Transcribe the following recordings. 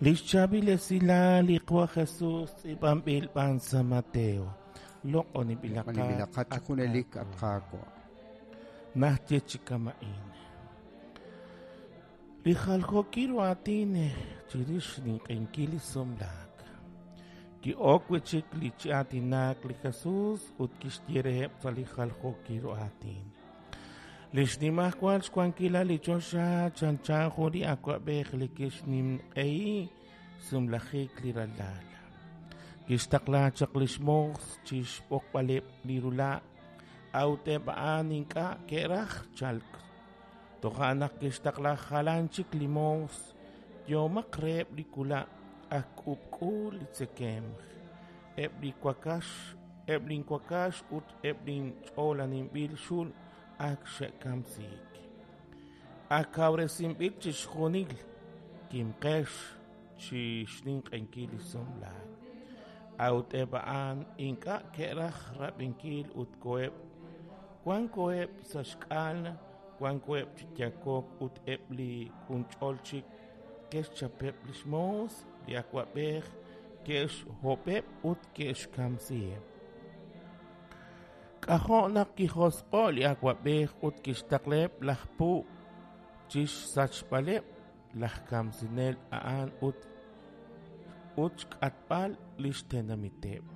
Lix chaab'il esilal li Qaawa' Jesus tz'iib'anb'il b'an sa' Mateo. Loq'oninb'ilaqat chi junelik, at Qaawa'. Naxye chi kama'in. Li jaljookil ru aatin chirix xninq'ehinkil li sumlaak. Ki'ok wi' chik li chi aatinak li Jesus ut kixye reheb' sa' li jaljookil ru aatin. Li xnimajwal xwankilal li choxa chanchan jun li awab'ej li kixninq'ehi sumlajik li ralal. Kixtaqla chaq li xmoos chi xb'oqb'aleb' li rula', a'ut eb' a'an ink'a' ke'raj chalk. Toja' naq kixtaqla jalan chik li moos, Yehomaq reheb' li wula' ak k'ub'k'u li tzekemq, eb' li wakax, eb' linwakax ut eb' linch'oolaninb'il xul ak xe'kamsiik. Ak kawresinb'il chixjunil, kimqex chi xninq'ehinkil li sumlaak. A'ut eb' a'an ink'a' ke'raj rab'inkil ut koheb', wan koheb' sa' xk'al, wan koheb' chi yakok ut eb' li junch'ol chik ke'xchapeb' li xmoos li awab'ej, ke'xhob'eb' ut ke'xkamsiheb'. K'ajo' naq kijosq'o' li awab'ej ut kixtaqlaheb' laj puub' chi xsachb'aleb' laj kamsinel a'an ut ut xk'atb'al li xtenamiteb'.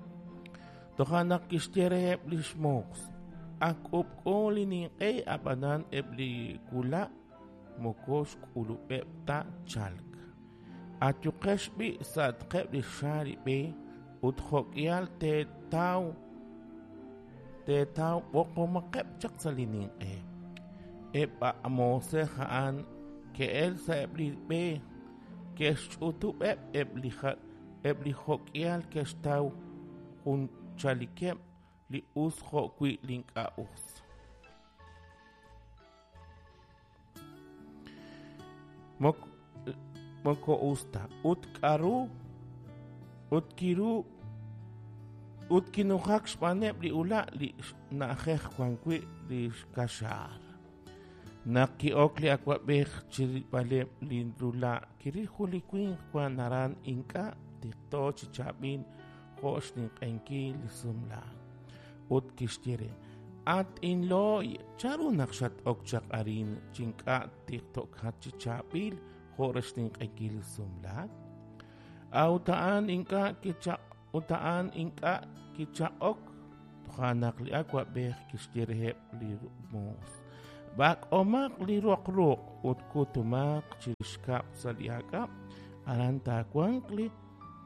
Toja' naq kixye reheb' li xmoos, Ak k'ub'k'u li ninq'e, ab'anan eb' li wula' moko xk'ulub'eb' ta chalk. Ayuqex b'i' sa'atqeb' li xaar li b'e ut jo'k'ihal teetaw teetaw b'oqomaqeb' chaq sa' li ninq'e. Eb' a moosej a'an ke'el sa'eb' li b'e, ke'xch'utub'eb' eb' li eb' li jo'k'ihal ke'xtaw jun chalikeb' li us jo'wi' li ink'a' us. Moko us ta. Ut k'aru ut kiru ut kinujak xb'aaneb' li ula' li na'ajej wan wi' li xkaxaar. Naq ki'ok li awab'ej chi rilb'aleb' li rula', kiril jun li winq wank aran ink'a' tiqto chi chaab'il jo' xninq'ehinkil li sumlaak. Ut kixye re, At inlooy, chanru naq xat-ok chaq arin chi ink'a' tiqto'kat chi chaab'il jo' re xninq'ehinkil li sumlaak? A'ut a'an ink'a' kichaq ut a'an ink'a' kichaq'ok. Toja' naq li awab'ej kixye reheb' li moos, B'ak'omaq li roq ruq' ut kutumaq chirix kab'l sa' li aak'ab', aran taawanq li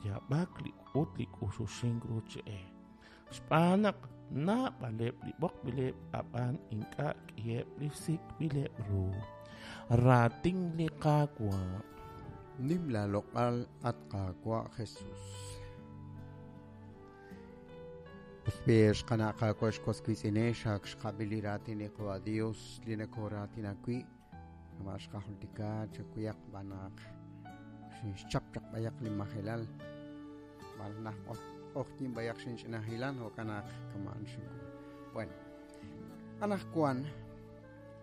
yaab'ak ut li k'uxuxink ruuch-e. Xb'aan naq naab'aleb' li b'oqb'ileb' ab'an ink'a' k'iheb' li sik'b'ileb' ru. Raatin li Qaawa'. Nim laaloq'al, at Qaawa' Jesus. Us b'i' ex qana' Qaawa' ex was wiitz'inex, ak xqab'i li raatin li Qawa' Dios li nakooraatinak wi'. Kama' xqajultika chakuyaq b'an naq xinxchap chaq b'ayaq li majelal b'al naj q'oqyink b'ayaq xinch'ina hilan jo'kan naq kama'an xink'ul. Bueno, anaqwan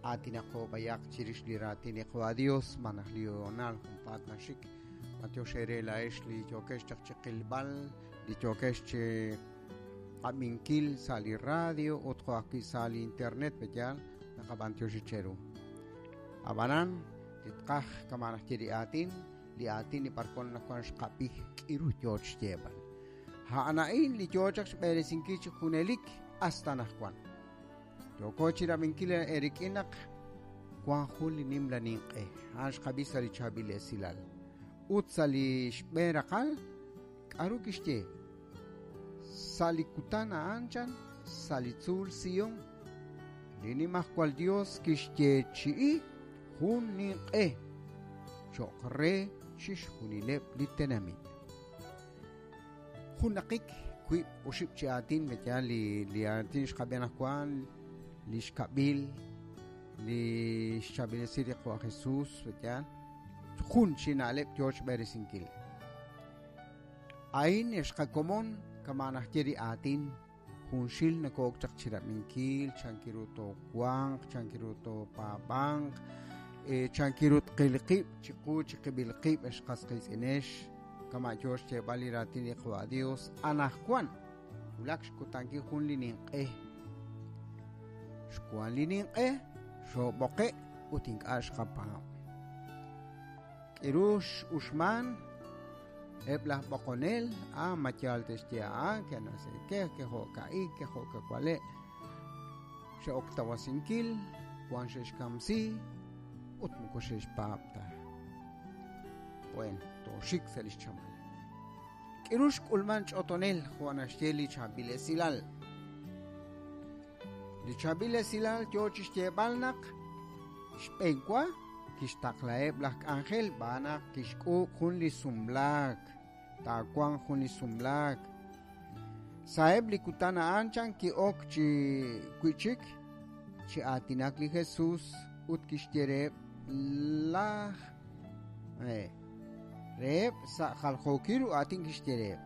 aatinaqo b'ayaq chirix li raatin li Qawa' Dios malaj li hoonal junpaat naxik. B'antiox eere laa'ex li yookex chaq chi qilb'al, li yookex chi qab'inkil sa' li radio ut jo' ajwi' sa' li internet, pe'yaal? Naqab'antioxi cheru. Ab'anan, li tqaj kama' naxye li aatin, li aatin li b'arwan nawan xqab'i k'iru yoo xyeeb'al. A'an a'in li yoo chaq xb'eresinkil chi junelik hasta anaqwan. Yooko chirab'inkil eerik'in naq wan jun li nimla ninq'e. A'an xqab'i sa' li chaab'il esilal. Ut sa' li xb'een raqal, k'aru kixye? Sa' li kutan a'an chan, sa' li tzuul Sion, li Nimajwal Yos kixyeechi'i jun ninq'e cho'q re chixjunileb' li tenamit. Junnaqik wiib' oxib' chi aatin yaal li li aatin xqab'i anaqwan, li xkab'il, li xchaab'ilesi li Qawa' Jesus, yaal, jun chi na'leb' yoo xb'eresinkil. A'in ex qakomon kama' naxye li aatin junxil nakook chaq chirab'inkil chankiru toowanq, chankiru toopaab'anq, Chankiru tqil qib' chiqu chiqib'il qib' ex qas qiitz'inex kama' yo xyeeb'al li raatin li Qaawa' Dios anaqwan wulak xkutankil jun li ninq'e xwan li ninq'e xoob'oqe' ut ink'a' xqapaab' k'iru x'uxman eb' laj b'oqonel a ma yaal te'xye a'an que no sé qué que jo'ka'in que jo'kawale' xe'ok tawasinkil wan xe'xkamsi ut moko xe'xpaab' ta. Bueno, tooxik sa' li xchamal. K'iru xk'ulman ch'otonel jo' naxye li chaab'il esilal. Li chaab'il esilal yo chi xyeeb'al naq xb'eenwa kixtaqlaheb' laj k'anjel b'aan naq kixk'uub' jun li sumlaak, taawanq jun li sumlaak. Sa'eb' li kutan a'an chan ki'ok chi wi'chik chi aatinak li Jesús ut kixye reheb' laj reheb' sa' jaljookil ru aatin kixye reheb'.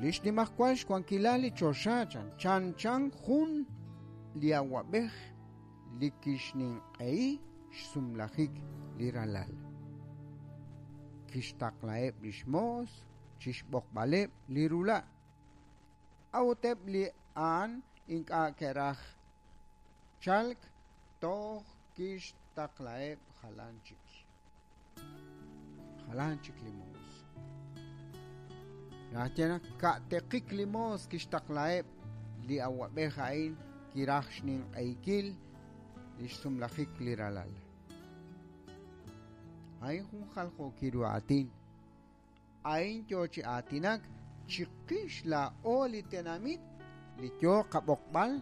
Li xnimajwal xwankilal li choxa chan chanchan jun li awab'ej li kixninq'ehi xsumlajik li ralal. Kixtaqlaheb' li xmoos chixb'oqb'aleb' li rula'. A'ut eb' li a'an ink'a' ke'raj chalk toj kixtaqlaheb' jalan chik. Jalan chik li moos. Naxye naq ka'teqik li moos kixtaqlaheb' li awab'ej a'in kiraj xninq'ehikil li xsumlajik li ralal. A'in jun jaljookil ru aatin. A'in yo chi aatinak chiqix laa'o li tenamit li yo qab'oqb'al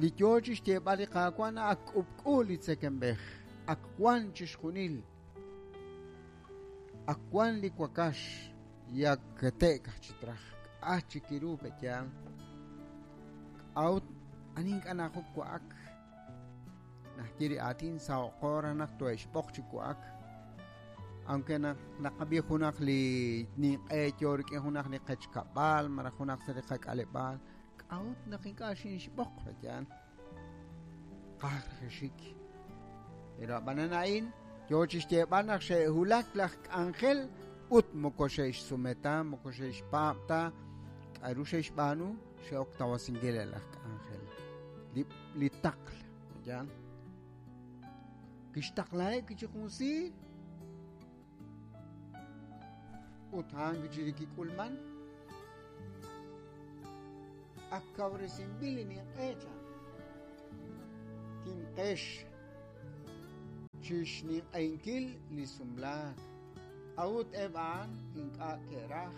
li yo chi xyeeb'al li Qaawa' naq ak k'ub'k'u li tzekemb'ej, ak wan chixjunil, ak wan li wakax yak kete'k aj chi traj, k'a chik iru pe'yaal. K'a'ut ani ink'a' najok wa'ak? Naxye li aatin saho'qo raj naq tohe'xb'oq chi wa'ak. Aunque naq naqab'i junaq li ninq'e yo rik'in junaq li qechkab'al malaj junaq sa' li qak'aleb'aal, k'a'ut naq ink'a' xinxb'oq pe'yaal? Qaj raj xik. Pero ab'anan a'in yo chi xyeeb'al naq xe'wulak laj k'anjel ut moko xe'xsume ta, moko xe'xpaab' ta, k'a'ru xe'xb'aanu, xe'ok tawasinkil laj k'anjel. Li taql, pe'yaal? Kixtaqlaheb' chi jun siir ut a'an chi li kik'ulman ak kawresinb'il li ninq'e chan. Kimqex chi xninq'ehinkil li sumlaak. A'ut eb' a'an ink'a' ke'raj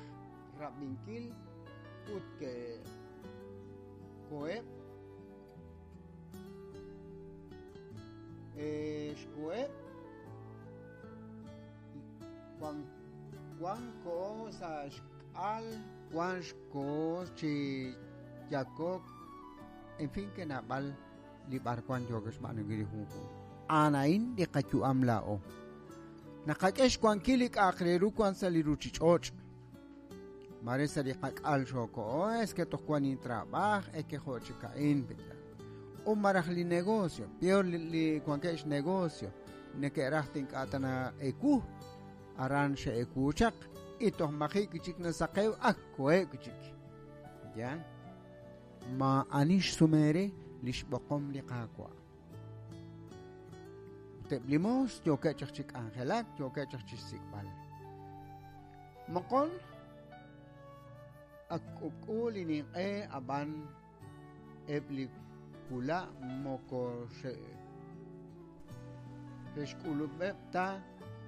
rab'inkil ut ke'koheb' xkoheb' wan koho sa' xk'al, wan xkoho chi yakok, en fin que naab'al li b'arwan yook xb'aanunkil li junjunq. A'an a'in li qayu'am laa'o. Naqak'e xwankil li k'a'aq re ru wan sa' li ruchich'och'. Mare sa' li qak'al xookoho, es que toj wan intrabaaj, es que jo' chik a'in pe'yaal. U maraj li negocio, peor li wankeb' xnegocio, neke'raj ink'a' tana ewu, aran xe'ewu chaq, y toj maji' kichik nasaqew ak koheb' kichik. Ya. Ma ani xsume re li xb'oqom li Qaawa'. Ut eb' li moos yookeb' chaq chi k'anjelak, yookeb' chaq chi xsik'b'al. Moqon ak k'ub'k'u li ninq'e ab'an eb' li wula' moko xe'xk'ulub'eb' ta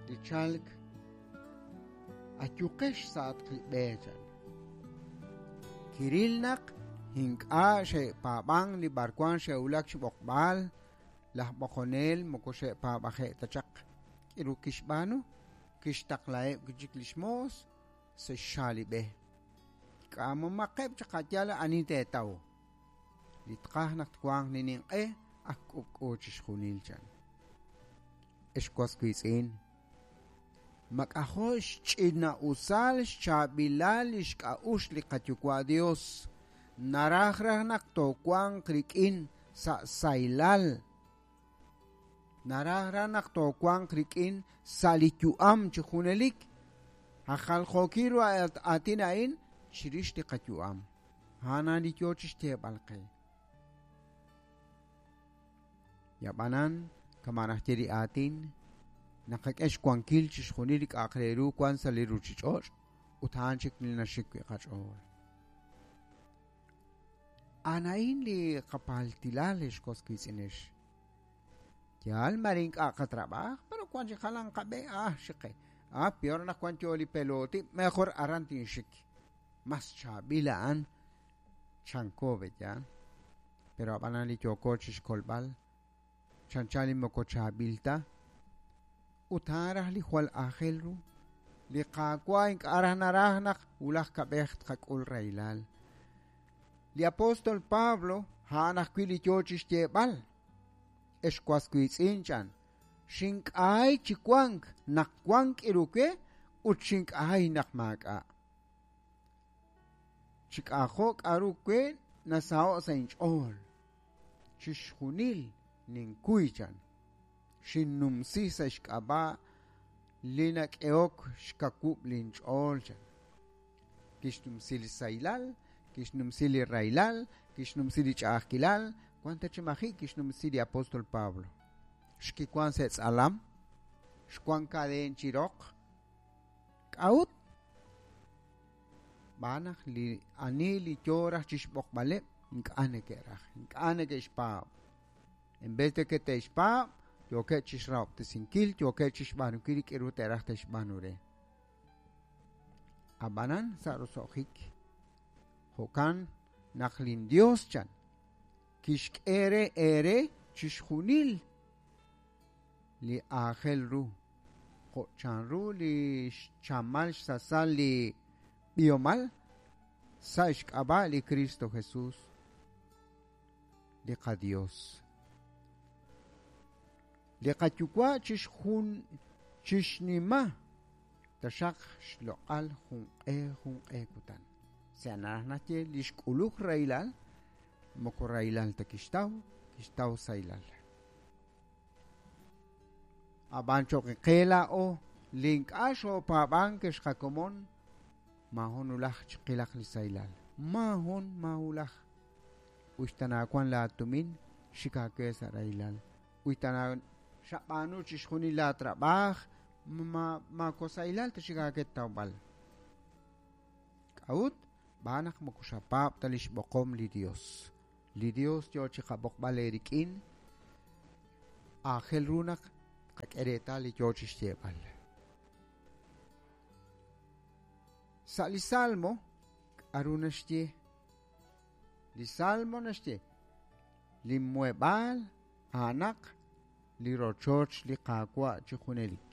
li chalk ayuqex sa'atq li b'e chan. Kiril naq ink'a' xe'paab'an li b'arwan xe'wulak chi b'oqb'al, laj b'oqonel moko xe'paab'aje' ta chaq. K'iru kixb'aanu, kixtaqlaheb' chik li xmoos sa' xxaal li b'e. K'amomaqeb' chaq ayal ani teetaw. Li tqaj naq twanq li ninq'e ak k'ub'k'u chixjunil chan. Ex was wiitz'in, mak'ajo' xch'ina'usal xchaab'ilal li xk'a'uxl li qayuwa' Dios. Naraj raj naq toowanq rik'in sa' saylal. Naraj raj naq toowanq rik'in sa' li yu'am chi junelik. Aj jaljookil ru aatin a'in chirix li qayu'am. A'an li yoo chixyeeb'al qe. Yab'anan, kama naxye li aatin, naqak'e xwankil chixjunil li k'a'aq re ru wan sa' li ruchich'och' ut a'an chik li naxik wi' qach'ool. A'an a'in li qapaltilal ex was wiitz'inex. Yaal mare ink'a' qatrab'aj, pero wan chi jalan qab'e, xiqe. Peor naq wan yo li peloti, mejor aran tinxik. Mas chaab'il a'an chanko be yaal. Pero ab'anan li yooko chixkolb'al, chanchan li moko chaab'il ta, ut a'an raj li jwal aajel ru. Li Qaawa' ink'a' raj naraj naq wulaj kab'ej tqak'ul rahilal. Li apóstol Pablo a'an ajwi' li yoo chixyeeb'al. Ex was wiitz'in chan, xink'aay chi wank naq wank k'iru we ut xink'aay naq maak'a'. Chik'ajo' k'aru we nasaho' sa' inch'ool. Chixjunil ninkuy chan. Xinnumsi sa' xk'ab'a' li nak'ehok xkawub' linch'ool chan. Kixnumsi li sahilal, kixnumsi li rahilal, kixnumsi li ch'a'ajkilal, wan ta chi maji' kixnumsi li apóstol Pablo. Xkiwan sa' tz'alam, xwan kadeen chi roq. K'a'ut? B'aan naq li ani li yoo raj chixb'oqb'aleb' ink'a' neke'raj, ink'a' neke'xpaab'. En vez de que te'xpaab', yookeb' chixrahob'tesinkil, yookeb' chixb'aanunkil li k'iru te'raj te'xb'aanu re. Ab'anan sa' roso'jik, jo'kan naq lin Dios chan kixk'e re eere chixjunil li aajel ru, jo' chanru li xchamal xsasal li b'ihomal sa' xk'ab'a' li Cristo Jesús, li qaDios. Li qayuwa' chixjun chixnima taxaq xloq'al junq'e junq'e kutan. Sa' naraj naxye li xk'uluk rahilal, moko rahilal ta kixtaw, kixtaw sahilal. Ab'an cho'q qe laa'o li ink'a' xoopaab'ank xqakomon, maajun ulaj chiqilaq li sahilal. Maajun maahulaj. Uxtana wan laatumin xik aawe sa' rahilal. Uxtana xab'aanu chixjunil laatrab'aaj, maako sahilal ta xik aawe tawb'al. K'a'ut? B'aan naq moko xapaab' ta li xb'oqom li Dios. Li Dios yoo chiqab'oqb'al eerik'in, aajel ru naq qak'e reetal li yoo chixyeeb'al. Sa' li Salmo, k'aru naxye? Li Salmo naxye, li muheb'aal a'anaq li rochoch li Qaawa' chi junelik.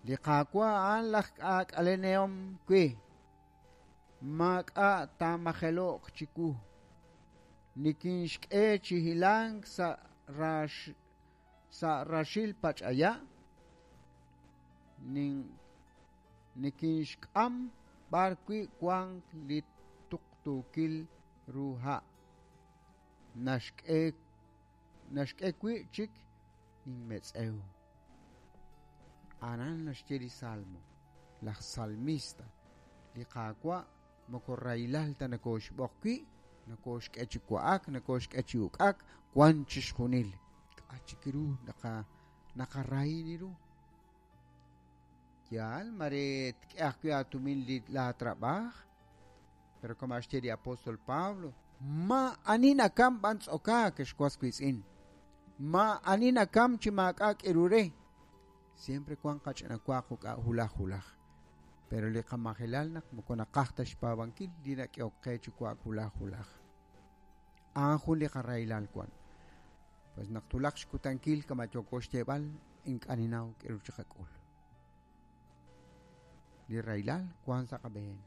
Li Qaawa' a'an laj k'aak'alenehom we. Maak'a' taamajelo'q chiwu. Nikinxk'e chi hilank sa' raxil pach'aya', nikinxk'am b'arwi' wank li tuqtuukil ru ha'. Naxk'e wi' chik inmetz'ew. Aran naxye li Salmo, laj salmista, li Qaawa' moko rahilal ta nakooxb'oq wi', nakooxk'e chi wa'ak, nakooxk'e chi uk'ak, wan chixjunil. K'a' chik ru naqarahini ru. Yaal, mare tk'e ajwi' aatumin li laatrab'aaj, pero kama xye li apóstol Pablo, ma ani nakam b'an tz'okaak ex was wiitz'in. Ma ani nakam chi maak'a' k'iru re. Siempre wan qach'ina waaq uk'a' hulaj hulaj. Pero li qamajelal naq moko naqaj ta xpaab'ankil li nak'ehok qe chi wa'ak hulaj hulaj. A'an jun li qarahilal wan. Pues naq tulaq xkutankil kama yooko xyeeb'al, ink'a' ninaw k'iru chiqak'ul. Li rahilal wan sa' qab'een.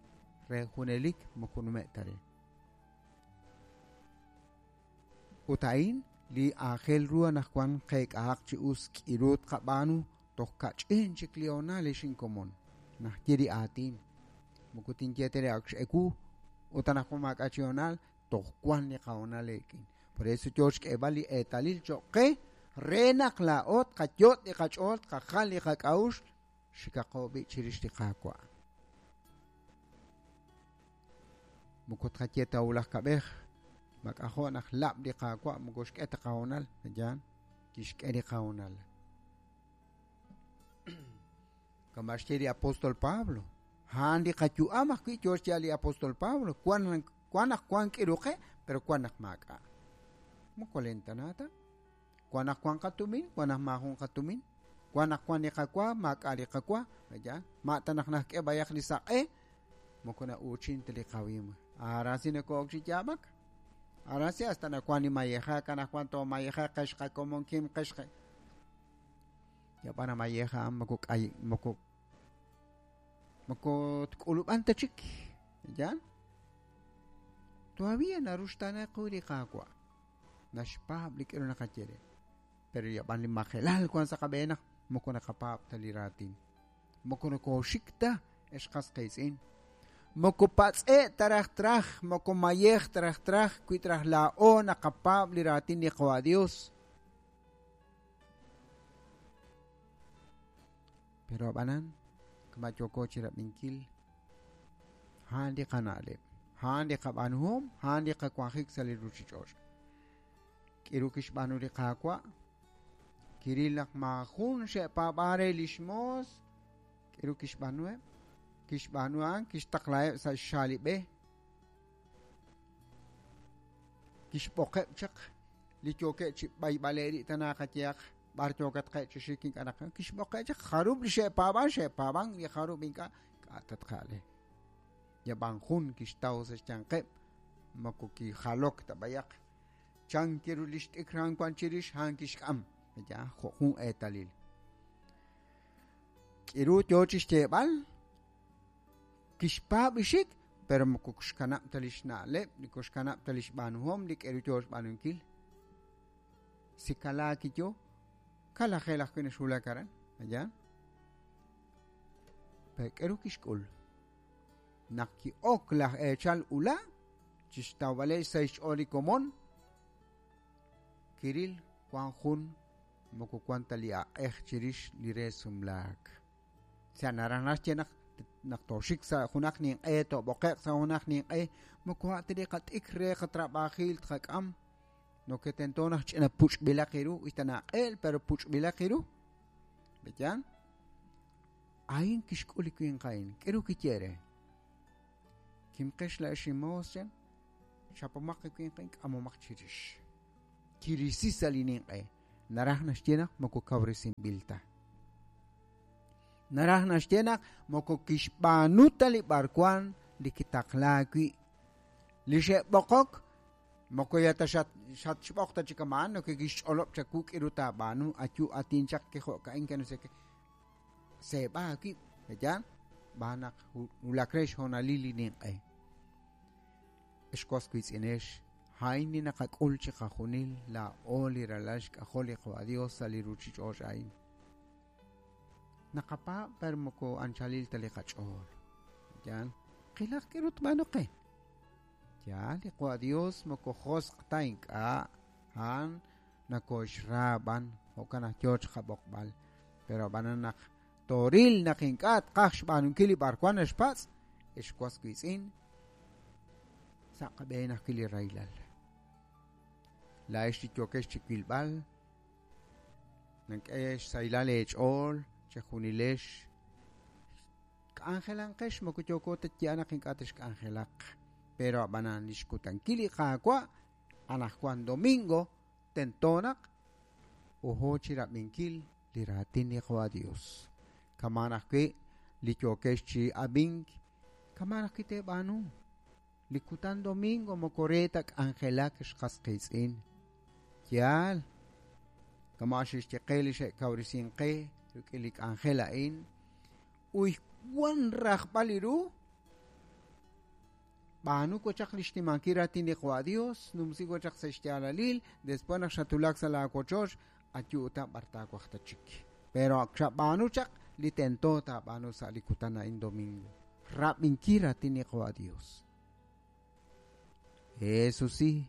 Re junelik moko nume' ta re. Ut a'in li aajel ru anaqwan qeek'ahaq chi us k'iru tqab'aanu toj kach'in chik li honal ex inkomon. Naxye li aatin. Moko tinye tere ak x'ewu ut anaqwan maak'a' chi honal, toj wan li qahonal eek'in. Por eso yoo xk'eeb'al li eetalil cho'q qe Re naq laa'o tqayot' li qach'ool, tqajal li qak'a'uxl, xikaqo b'i' chirix li Qaawa'. Moko tqaye ta wulaj kab'ej, mak'ajo' naq lab' li Qaawa' moko xk'e ta qahoonal, yaan, kixk'e li qahoonal. Kama xye li apóstol Pablo, a'an li qayu'am ajwi' yo xye li apóstol Pablo, wan naq wan k'iru qe, pero wan naq maak'a'. Moko lentana ta. Wan naq wan qatumin, wan naq maajun qatumin, wan naq wan li qawa, maak'a' li qawa, yaan, ma' ta naq najk'e b'ayaq li saq'e, moko na'uuchin ta li qawim. Ahora si nako'ok chi yaab'ak. Ahora si hasta nawan li mayeja, kanaj wan to mayeja qex qakomon kim qex yab'ana mayeja moko k'ay moko moko tk'ulub'an ta chik, yaan. Todavía naruxtaana qu li Qaawa'. Naxpaab' li k'iru naqaye re. Pero yab'an li majelal wan sa' qab'een naq moko naqapaab' ta li raatin. Moko nokooxik ta ex qas qiitz'in. Moko patz'e' taraj traj, moko mayej taraj traj, wi traj laa'o naqapaab' li raatin li Qawa' Dios. Pero ab'anan, kama yooko chi rab'inkil, a'an li qana'leb', a'an li qab'aanuhom, a'an li qawanjik sa' li ruuchich'och'. K'iru kixb'aanu li Qaawa', kiril naq maajun xe'paab'an re lix moos, k'iru kixb'aanuheb', kixb'aanu a'an, kixtaqlaheb' sa' xxaalib'e, kixb'oqeb' chaq li yookeb' chi b'ayb'ale' tana qayehaq b'ar yookat qe' chi xik ink'a' naq kixb'oqeb' chaq jarub' li xe'paab'an, xe'paab'an li jarub' ink'a' k'a' tatqa'le. Yab'an jun kixtaw sa' xyanqeb' moko kijalok ta b'ayaq. Chan kiru li xt'ikran wan chirix a'an kixk'am. Ya, jo' jun eetalil. K'iru yo chi xyeeb'al, kixpaab' ixik, pero moko xkanab' ta li xna'leb', moko xkanab' ta li xb'aanuhom, li k'iru yo xb'aanunkil. Si kalaak yo, kalajel ajwi' naxwulak aran, ya. Pero k'iru kixk'ul. Naq ki'ok laj eechal ula', chixtawb'ale' sa' xch'ool li komon, kiril wan jun moko wan ta li aq'ej chirix li re sumlaak. Sa' naraj naxye naq naq tooxik sa' junaq ninq'e, toob'oqe'q sa' junaq ninq'e, moko a' ta li qat'ik re qatrab'ajil tqak'am, no que tento naq ch'ina puch'b'ilaq iru, uy ta naq'eel, pero puch'b'ilaq iru. Beyan? A'in kixk'ul li winq a'in, k'iru kiye re. Kimqex la'ex inmoos chan, chapomaq li winq a'in, k'amomaq chirix. Kirisi sa' li ninq'e. Naraj naxye naq moko kawresinb'il ta. Naraj naxye naq moko kixb'aanu ta li b'arwan li kitaqlaak wi'. Li xe'b'oqok moko ya ta xatxb'oq ta chik ama'an, no que kixch'olob' chawu k'iru taab'aanu, ayu atin chaq kejo'ka'in que no sé qué. Seeb'a aawib', ya, b'aan naq wulak re xhoonalil li ninq'e. Ex was wiitz'inex, a'in li naqak'ul chi qajunil laa'o li ralal xk'ajol li Qawa' Dios sa' li ruuchich'och' a'in. Naqapaab' pero moko anchalil ta li qach'ool. Ya, qilaq k'iru tb'aanu qe. Ya, li Qawa' Dios moko josq' ta ink'a', a'an nakoxraab'an, jo'kan naq yo chiqab'oqb'al. Pero ab'anan naq toril naq ink'a' tqaj xb'aanunkil li b'arwan naxpatz', ex was wiitz'in, sa' qab'een ajwi' li rahilal. La'ex li yookex chi wilb'al, nank'e xsahilal eech'ool, chejunilex. K'anjelanqex moko yooko ta yaal naq ink'a' texk'anjelaq. Pero ab'anan li xkutankil li Qaawa', anajwan domingo, tento naq ojo chi rab'inkil li raatin li Qawa' Dios. Kamaan ajwi' li yookex chi ab'ink, kamaan ajwi' teeb'aanu. Li kutan domingo moko re ta k'anjelak xqas qiitz'in. Yaal, kama xixye qe li xe'kawresin qe rik'in li k'anjel a'in, uy wan rajb'al iru, b'aanu wachaq li xnimankil raatin li Qawa' Dios, numsi wachaq sa' xyaalalil, después naq xatulak sa' laawochoch, ayu'ta b'ar taawaj ta chik. Pero xab'aanu chaq li tento taab'aanu sa' li kutan a'in domingo. Rab'inkil raatin li Qawa' Dios. Eso sí,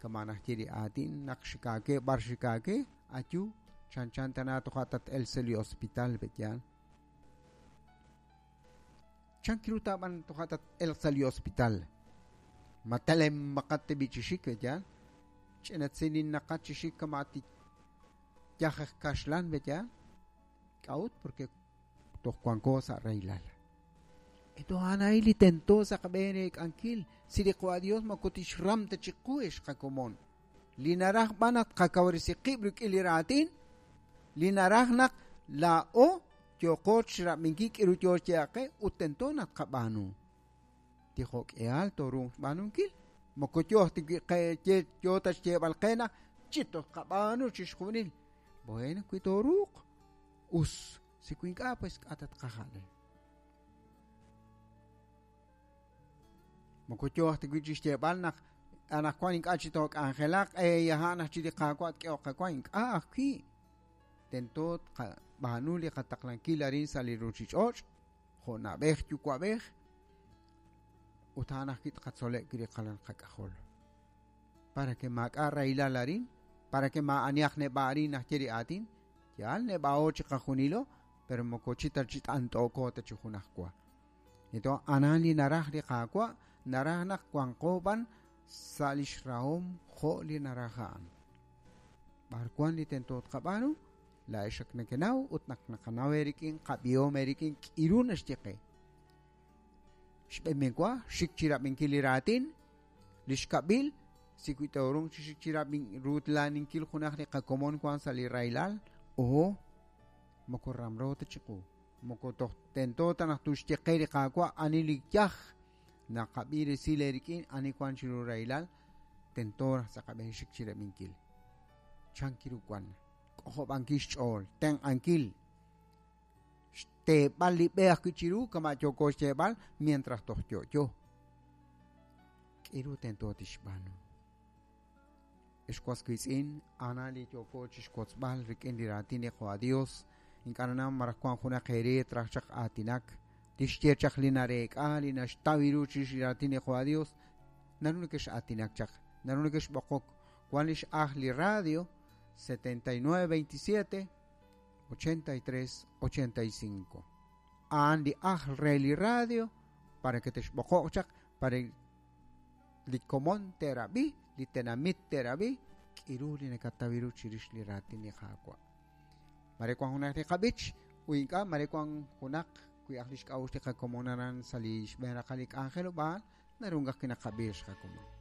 kama najye li aatin naq xikaake b'ar xikaake, Ayu chanchan tana toja' tat-el sa' li hospital pe'yaal. Chan kiru taab'an toja' tat-elq sa' li hospital. Ma talemaqat tab'i' chi xik pe'yaal. Ch'inatzininaqat chi xik kama' yaj aj kaxlan pe'yaal. K'a'ut? Porque toj wanko sa' rahilal. Eto a'an a'in li tento sa' qab'een reek'ankil si li Qwa' Dios moko tixram ta chiqu ex qakomon. Li naraj b'an naq tqakawresi qib' rik'in li raatin, li naraj naq laa'o yooqo chirab'inkil k'iru yoo xyeeb'al qe ut tento naq tqab'aanu. Tijok'ihal tooruuq xb'aanunkil. Moko yooh ta wi' qe yoo ta xyeeb'al qe naq chi toj tqab'aanu chixjunil. Bueno, wi tooruuq, us. Si wi ink'a', pues k'a' ta tqajal. Moko yooh ta wi' chixyeeb'al naq anaqwan ink'a' chi took'anjelaq, a'an aj chi li Qaawa' tk'ehoq qawa, ink'a' ajwi'. Tento tqab'aanu li qataqlankil arin sa' li ruuchich'och' jo' na'b'ej yuwa'b'ej ut a'an ajwi' tqatzoleb' wi' li qalal qak'ajol. Para que maak'a' rahilal arin, para que maa'anihaq neb'a' arin najye li aatin, yaal neb'a'o chiqajunilo, pero moko chi ta chi t'ant'ooko ta chi junajwa. Entonces, anan li naraj li Qaawa', naraj naq wanqo b'an sa' lix rahom jo' li naraj a'an. B'ar wan li tento tqab'aanu, laa'ex ak nekenaw ut naq naqanaw eerik'in, qab'ihom eerik'in k'iru naxye qe. Xb'een wa, xik chirab'inkil li raatin, li xkab'il, si wi toorung chi xik chirab'in ruutlaaninkil junaq li qakomon wan sa' li rahilal, oho, moko ramro ta chiqu. Moko toj tento ta naq tuxye qe li Qaawa' ani li yaj naqab'i resil eerik'in ani wan chiru rahilal, tento naq sa' qab'een xik chirab'inkil. Chan kiru wan, k'ojob'ankil xch'ool, tenq'ankil, xteeb'al li b'e ajwi' chiru kama' yooko xyeeb'al mientras toj yo'yo. K'iru tento tixb'aanu. Ex was wiitz'in, a'ana li yooko chixwotzb'al rik'in li raatin li Qwa Dios, ink'a' nanaw maraj wan junaq eere traj chaq aatinak, tixye chaq li nareek'a, li naxtaw ru chirix li raatin li Qwa Dios, naru nekex'aatinak chaq, naru nekexb'oqok. Wan lix ajl li radio 7927 83 85. A'an li ajl re li radio para que texb'oqoq chaq para li komon te'rab'i, li tenamit te'rab'i, k'iru li nakataw ru chirix li raatin li Qaawa'. Mare wan junaq li qab'ich, u ink'a' mare wan junaq wi aj lix k'a'uxl li qakomon aran sa' li xb'een raqal li k'anjelob'aal, naru ajwi' naqab'i xqakomon.